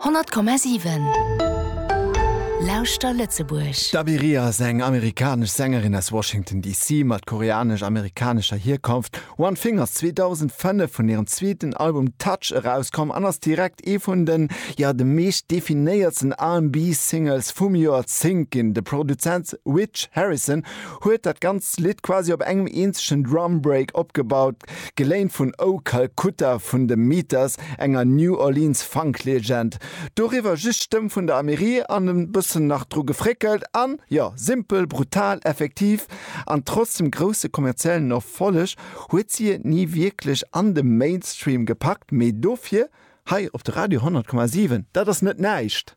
100,7 Lauschter Lëtzebuerg. D'Abbey Rie ass eng amerikanesch Sängerin aus Washington DC. mat koreanesch-amerikanescher Hierkonft. One Thing ass 2005 vun hirem zweeten Album Touch erauskomm an ass direkt ee vun den, jo, de meescht definéiertsten R&B-Singles vum Joerzéngt ginn. De Produzent Rich Harrison huet dat ganzt Lidd quasi op engem eenzegen Drum Break opgebaut, Geléint vun Oh Calcutta vun de Meters, enger New Orleans Funk-Legend. Doriwwer just d'Stëmm vun der Amélie an e bëssen nach dru gefréckelt an, jo, simpel, brutal, effektiv an trotz dem grousse kommerziellen Erfolleg huet si et ni wierklech an de Mainstream gepackt, mee dofir hei op de Radio 100,7, dat ass net näischt!